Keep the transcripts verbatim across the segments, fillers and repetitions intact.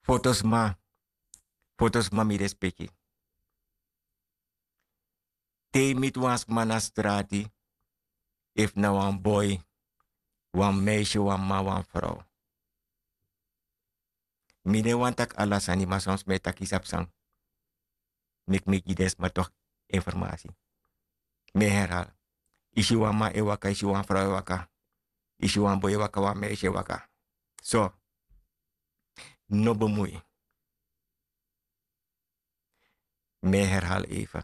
Fotosma, fotosma mi respeki. Te yu miti wan sma na strati, efu na wan boi, wan meisye, wan man, wan frow. Mi no e wani taki ala sani, ma soms mi e taki sabi san. Meki mi gi den sma tok informasi. Mi e herhal. Yu si wan man e waka, yu si wan frow e waka, yu si wan boi e waka, wan meisye e waka, so no bemui. Mi e herhal eifa.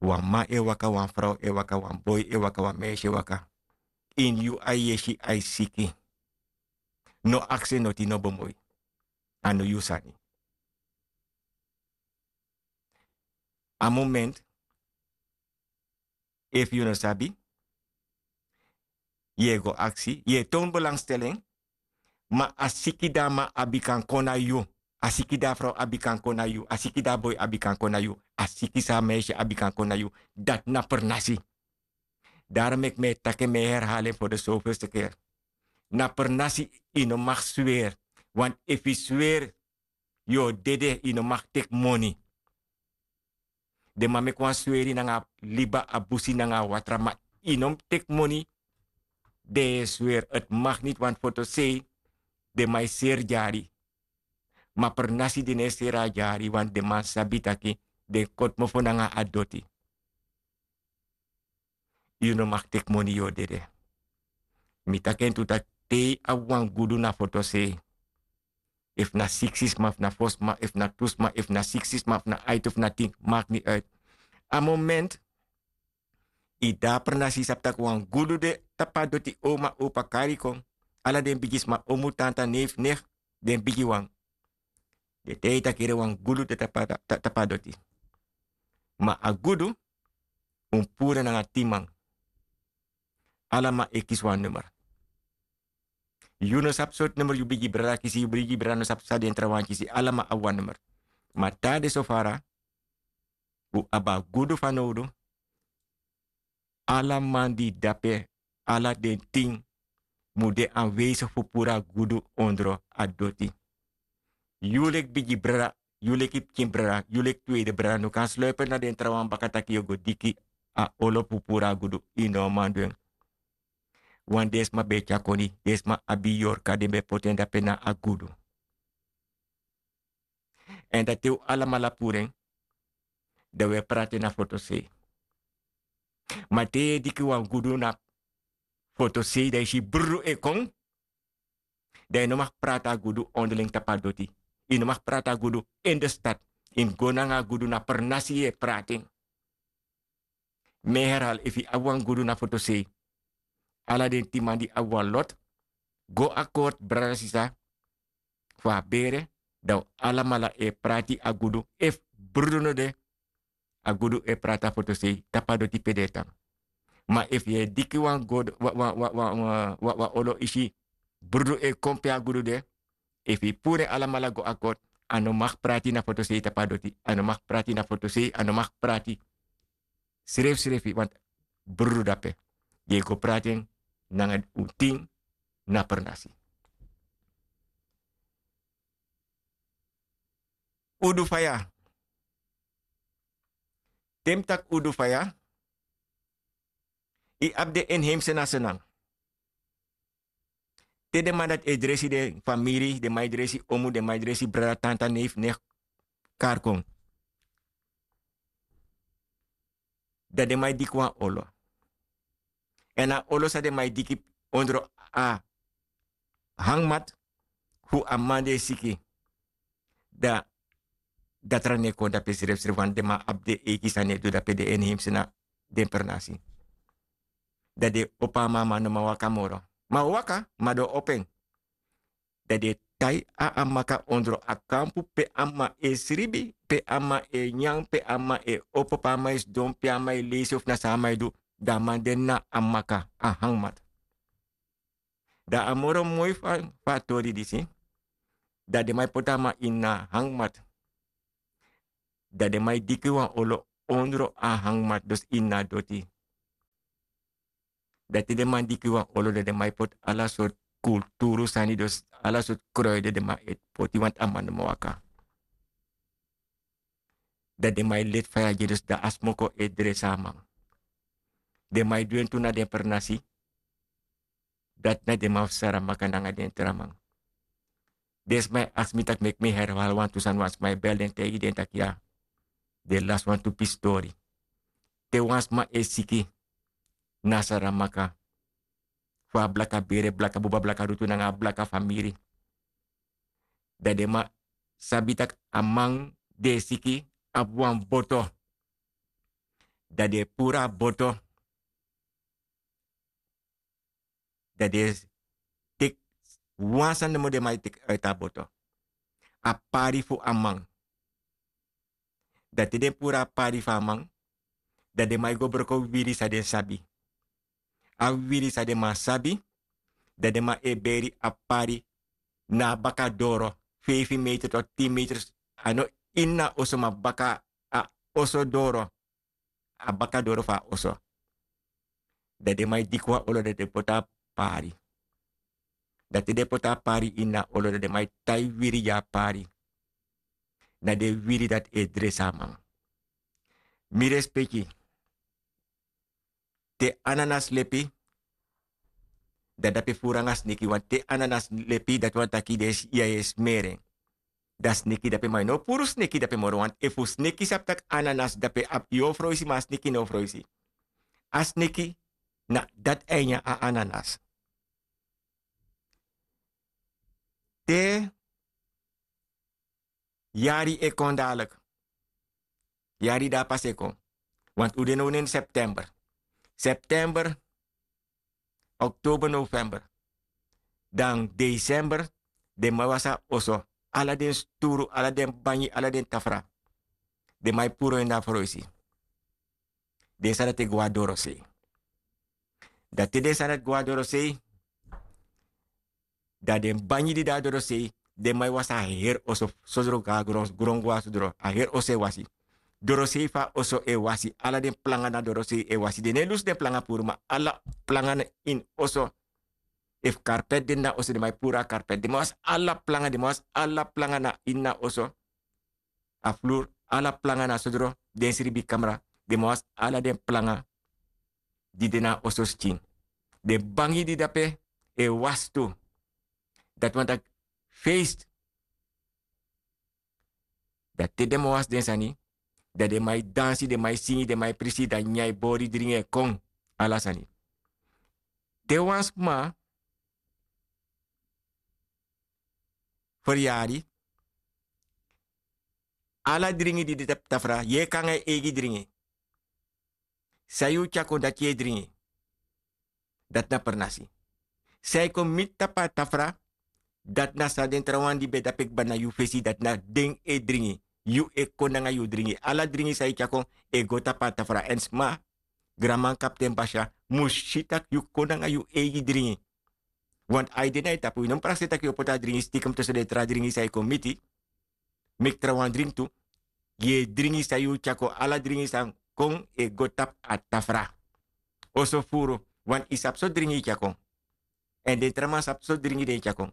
Wan man e waka, wan frow e waka, wan boi e waka, wan meisye e waka, ini yu ai yesi, ai siki. No aksi en noti, no bemui. A no yu sani. A moment, efu yu no sabi, yu e go aksi, yu e town belangstelling. Ma a siki di a man abi kan kon na yu, a siki di a frow abi kan kon na yu, a siki di a boi abi kan kon na yu, a siki san a meisye abi kan kon na yu. Dati na pernasi. Daro meki mi e taki en, mi e herhal en fu de sofelste keri. Na pernasi. Yu no mag sweri. Want efu yu sweri, yu o dede. Yu no mag teki moni. Den man meki wan sweri nanga liba, a busi nanga a watra, ma yu no mus teki moni. Den e sweri, eti mag niti, want fotosei, den man e seri dyari. Ma pernasi den no e seri a dyari, want den man sabi taki den koti mofo nanga a doti. Yu no mag teki moni, yu o dede. Mi taki en tu taki te yu abi wan gudu na fotosei. Efu na siksi sma, efu na fo sma, efu na tu sma, efu na siksi sma, efu na aiti, efu na tin, maki niti uit. A moment yu de na pernasi, yu sabi taki wan gudu de tapu a doti, oma, opa kari kon. Ala den bigi sma, omu, tanta, neef, nef, den bigi wan. Den taigi yu taki ere wan gudu de tapu a, ta-, tapu a doti. Ma a gudu, un puru en nanga tin man. Ala man e kisi wan nummer. Yu no sabi sortu nummer yu bigi brada kisi, yu bigi brada no sabi san den trawan kisi, ala man abi wan nummer. Ma te a de so fara, un abi a gudu fanowdu. Ala man di de dape, ala den tin, mu de anwezig fu puru a gudu ondro a doti. Yu leki bigi brada, yu leki pikin brada, yu leki tweede brada, no kan sluipen na den trawan baka taki yu o go diki a olo fu puru a gudu. Yu no man du en. Want den sma ben e tyari koni, den sma abi yorka, den ben e poti en dape na a gudu. Èn dati te un alamala puru en, dan un e prati na fotosei. Ma te yu e diki wan gudu na fotosei, dan yu si brudu e kon, dan yu no mag prati a gudu onderling tapu a doti. Yu no mag prati a gudu in de stad. Yu mus go nanga a gudu na pernasi yu e prati en. Mi e herhaal, efu yu abi wan gudu na fotosei, ala den tin man di abi wan lot, go akort, brada, sisa, fu a bere, dan un alamala e prati a gudu. Efu brudu no de, a gudu e prati a fotosei tapu a doti pe den e tan. Ma efu yu e diki wan gudu, wan, wan, wan olo, yu si brudu e kon pe a gudu de, efu yu puru en alamala go akort, a no mag prati na fotosei tapu a doti, a no mag prati na fotosei, a no mag prati srefsrefi, want brudu de dape. Yu e go prati en nanga un tin na pernasi. Udu faya. Te mi taki udu faya, yu abi den inheemse na Sranan. Te den man dati e dresi den famiri, den man e dresi omu, den man e dresi brada, tanta, neef, nicht, kari kon. Dan den man e diki wan olo. Èn a olo san den man e diki ondro a hangmat fu a man di e siki. Dan datra no e kon dape srefsrefi, want den man abi den eigi sani e du dape, den inheemse na den pernasi. Dan den opo a man, a man no man waka moro. Ma a o waka, ma den o opo en. Dan den e tai a amaka ondro a kampu pe a man e sribi, pe a man e nyan, pe a man e opo, pe a man e sidon, pe a man e leisi of na san a man e du. Dan a man de na amaka, a hangmat. Dan a moro moi fu a, fu a tori disi, dan den man e poti a man ini a hangmat. Dan den man e diki wan olo ondro a hangmat, dus ini a doti. Dan te den man diki wan olo, dan den man e poti ala sortu kulturu sani, dus ala sortu kroi de den man e poti wantu a man no man waka. Dan den man e leti faya gi en dus dan a smoko e dresi a man. Den man e du en tu na den pernasi. Dati na den man fu saramaka nanga den tra man. Den sma e aksi mi tak' meki mi herwali wantu sani wan sma e beli den taigi den taki ya. Den lasi wantu pisi tori. Te wan sma e siki na saramaka fu a blaka bere blaka buba blaka rutu nanga a blaka famiri. Dan den man sabi tak' a man di e siki abi wan boto. Dan den e puru a boto. Dan den e teki wan sani nomo den man e teki uiti a boto. A pari fu a man. Dan te den puru a pari fu a man, dan den man e go broko wiri san den sabi. A wiri san den man sabi. Dan den man e beri a pari na a baka doro feifi meter to tin meter. A no ini a oso ma baka a oso doro. A baka doro fu a oso. Dan den man e diki wan olo dan den poti a pari. Dan te den poti a pari ini a olo dan den man e tai wiri gi a pari. Na den wiri dati e dresi a man. Mi respeki. Te ananas lepi dan dape furu nanga sneki wantu te ananas lepi dati wani taki den e smeri en. Dan sneki dape ma yu no o puru sneki dape moro wantu efu sneki sabi tak' ananas dape abi yu o froisi ma a sneki no o froisi. A sneki na dati a e nyan a ananas. Te yari e kon dadilik. Yari di a pasi e kon. Wantu un de now na ini september. September, oktober november, dan desember. Den man wasi a oso, ala den sturu ala den banyi ala den tafra. Den man e puru en na froisi. Den sani dati e go na dorosei. Dan te den sani dati go na dorosei, dan den banyi di de na dorosei, den man e wasi a heri oso sodro go na gron gron go na sodro a heri oso e wasi. Dorosei fu a oso e wasi ala den planga na dorosei e wasi den no e lusu den planga puru ma ala planga na ini oso. Efu karpeti de na oso den man e puru a karpeti den man wasi ala planga den man wasi ala planga na ini a oso. A fluru ala planga na sodro den sribi kamra. Den man wasi ala den planga di de na a oso skin. Den bangi di dape e wasi tu. Dati wani taki feest. Dan te den man wasi den sani, dan den man e dansi den man e singi den man e prisi dan nyan e bori dringi e kon. Ala sani. Te wan sma feryari, ala dringi di de tapu tafra yu e kon nanga yu eigi dringi. San yu tyakon dati yu e dringi. Dati na pernasi. San e kon miti tapu a tafra, dati na san den trawan di ben dape kba na yu fesi dati na den e dringi. Yu e kon nanga yu dringi ala dringi san yu tyakon e go tapu a tafra èn sma, granman kapten basya mus si tak' yu kon nanga yu eigi dringi. Want a e de na yu tapu yu no mus prakseri tak' yu o poti a dringi stikem tusu den tra dringi san e kon miti. Meki trawan dringi tu. Gi e dringi san yu tyakon ala dringi san kon e go tapu a tafra. Oso furu. Want yu sabi so dringi yu tyakon. Èn den tra man sabi so dringi den e tyakon.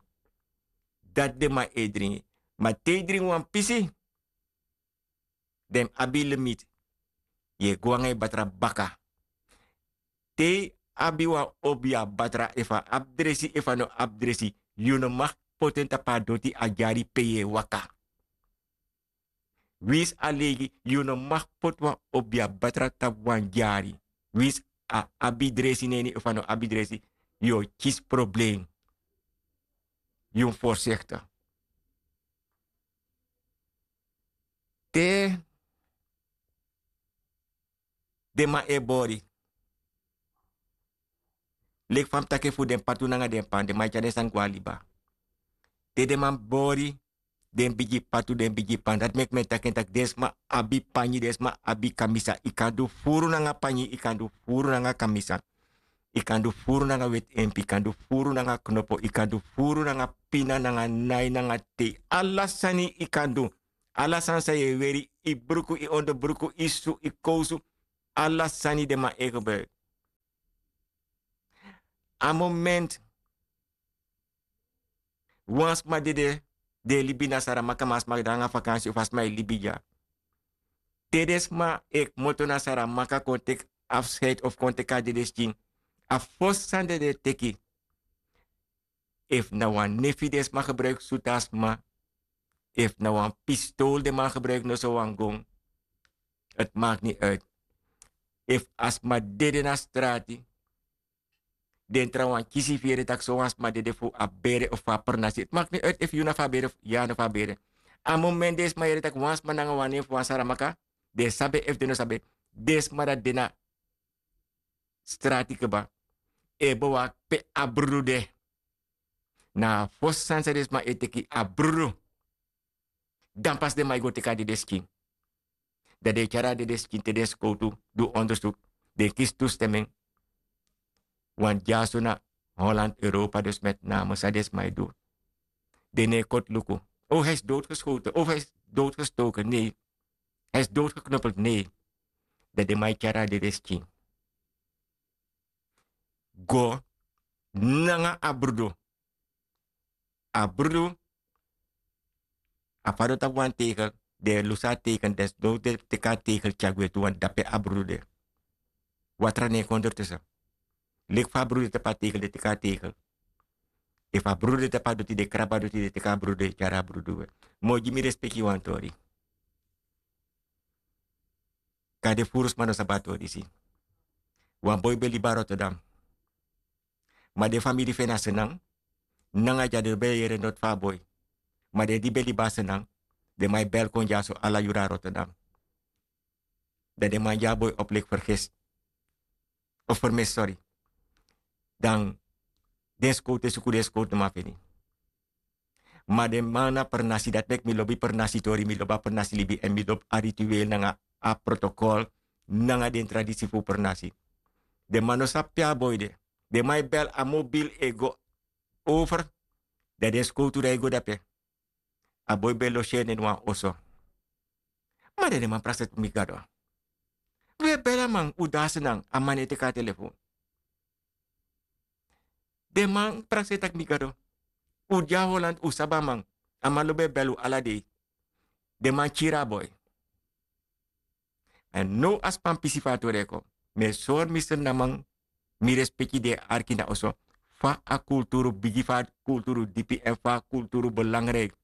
Dati den man e dringi. Ma te yu dringi wan pisi, den mus abi limiti. Yu e go nanga yu batra baka. Te yu abi wan obi yu a batra efu a abi dresi efu a no abi dresi, yu no maki poti en tapu a doti a dyari pe yu e waka. Winsi a leigi yu no maki poti wan obi yu a batra tapu wan dyari. Winsi a abi dresi na ini efu a no abi dresi, yu o kisi problem. Yu mus forsekte. Te den man e bori. Leki fa mi taki fu den patu nanga den pan den man e tyari den sani go na liba. Te den man bori, den bigi patu den bigi pan dati meki mi e taki en taki den sma abi panyi den sma abi kamisa yu kan du furu nanga panyi yu kan du furu nanga kamisa. Yu kan du furu nanga weti empi yu kan du furu nanga knopo yu kan du furu nanga pina nanga nai nanga tei ala sani yu kan du. Ala sani san yu e weri yu bruku yu ondobruku yu su yu kowsu. Ala sani den man e gebruiki. A moment Wan sma dede, den e libi na Saramaka, ma a sma de nanga vakansi of a sma e libi dya. Te den sma e kmoto na Saramaka kon teki afscheid of kon teki a dedeskin, a fosi sani den e teki, efu na wan nefi den sma gebruiki sutu a sma, efu na wan pistol den man gebruiki, noso wan gon, het maakt niet uit. Efu a sma dede na strati, den trawan kisi fu yere tak' sowan sma dede fu a bere of fu a pernasi. Het maakt niet uit efu yu na fu a bere of yu na fu a bere. A moment den sma yere tak' wan sma nanga wan nen fu wan Saramaka, den sabi efu den no sabi, den sma dati de na strati kba e bewaki pe a brudu de. Na a fosi sani san den sma e teki a brudu. Dan pasi den man e go teki a dedeskin. Dan den e tyari a dedeskin te den skowtu du onderzoek. Den kisi tu stemmen. Wan dyaso na Holland, Europa, dus met name san den sma e du. Den no e koti luku. O, hij is doodgeschoten. O, hij is doodgestoken. Nee. Hij is doodgeknuppeld. Nee. Dan den man e tyari a dedeskin go nanga a brudu. A brudu, a fadon tapu wan tegel, den e lusu a teken, den sidon den teki a tegel tyari gwe tu, want dape a brudu de. Watra no e kon ondertussen. Leki fa a brudu de tapu a tegel, den teki a tegel. Efu a brudu de tapu a doti, den krabu a doti, den teki a brudu, den tyari a brudu gwe. Mi o gi mi respeki wan tori. Kande furu sma no sabi a tori disi. Wan boi ben libi na Rotterdam. Ma den famiri fu en na Sranan. Nanga dya den no ben yere noti fu a boi. Ma den di ben libi na Sranan, den man e bel kon dyaso ala yuru na Rotterdam. Dan den man gi a boi opleki fergesi. Of fermisi, sori. Dan den skowtu e suku den skowtu, no man feni. Ma den man na pernasi, dati meki mi lobi pernasi tori, mi lobi a pernasi libi, èn mi lobi a ritueel nanga a protokol nanga den tradisi fu pernasi. Den man no sabi pe a boi de. Den man e bel, a mobil e go over. Dan den skowtu dan e go dape. A boi ben loseri na ini wan oso. Ma dan den man prakseri taki: "Mi Gado, un e bel a man, un de na Sranan, a man no e teki a telefon." Den man prakseri taki: "Mi Gado, un de na Holland, un sabi a man. A man lobi e bel un ala dei." Den man kiri a boi. Èn now a span pisi fu a tori e kon. Mi e sori mi Srananman, mi respeki, den e arki na oso, fa a kulturu bigi, fa a kulturu dipi èn fa a kulturu belangrijk.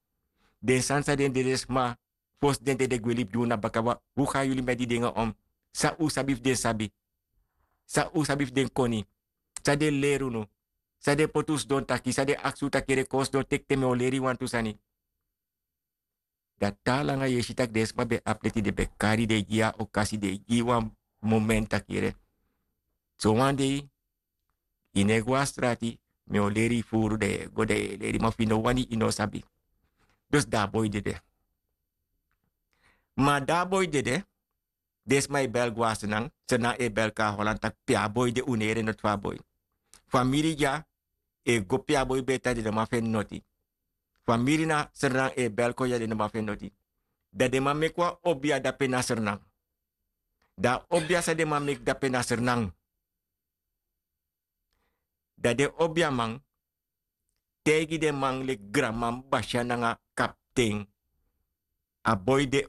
Den sani san den dedesma, fosi den dede gwe libi gi unu na baka, wan, un go na yu libi, mi e didingi en. San un sabi fu den sabi? San un sabi fu den koni? San den leri unu? San den poti un sidon taki? San den aksi un taki: "Yere, kon sidon, teki ten, mi o leri yu wantu sani." Dan te langa yu e si taki den sma ben abi leti, den ben kari, den e gi yu a okasi, den e gi yu wan moment taki: "Yere, sowan dei yu no e go na strati, mi o leri yu furu." Den e go, den e leri, ma fu yu no wani, yu no sabi. Dus dan a boi dede. Ma dan a boi dede, den sma e bel go na Sranan, Sranan e bel kon na Holland taki pe a boi de, un no yere noti fu a boi. Famiri dya e go pe a boi ben tan, den no man feni noti. Famiri na Sranan e bel kon dya, den no man feni noti. Dan den man meki wan obia dape na Sranan. Dan a obia san den man meki dape na Sranan, dan den obiaman taigi den man leki granman, basia nanga kapten: "A boi de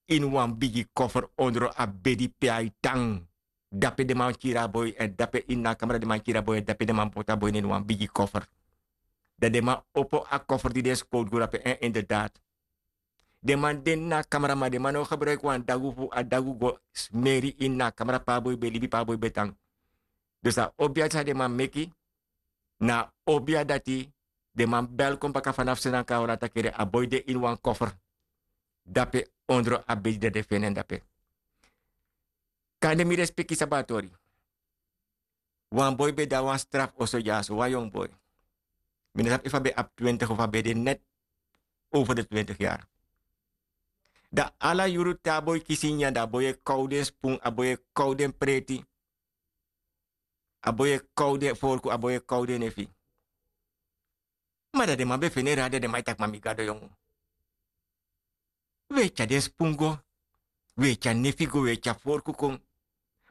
ini wan bigi kofer ondro a bedi pe a e tan." Dape den man kiri a boi, èn dape ini a kamra den man kiri a boi, èn dape den man poti a boi na ini wan bigi kofer. Dan den man opo a kofer di den skowtu go dape, èn inderdaad, den man de na a kamra, ma den man no gebruiki wan dagu fu a dagu go smeri ini a kamra pe a boi ben libi, pe a boi ben tan. Dus a obia san den man meki, na a obia dati den man bel kon baka fanafu Sranan kon na Holland taki: "Yere, a boi de ini wan kofer dape ondro a bedi." Dan den feni en dape. Kande mi respeki sabi a tori. Wan boi ben de na wan straf oso dyaso, wan yongu boi. Mi no sabi efu a ben abi twintig of a ben de net over de twintig yari. Dan ala yuru te a boi kisi nyanyan, dan a boi e kow den spun, a boi e kow den preti. A boi e kow den forku, a boi e kow den nefi. Ma dan den man ben feni en rari, dan den man e taki: "Ma mi Gado, yongu, wi e tyari den spun go, wi e tyari nefi go, wi e tyari forku kon.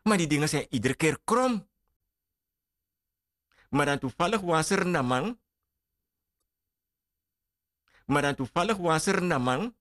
Ma den dingen zijn iedere keer krom." Ma dan toevallig wan Sranan man Ma dan tufaligi wan srnaman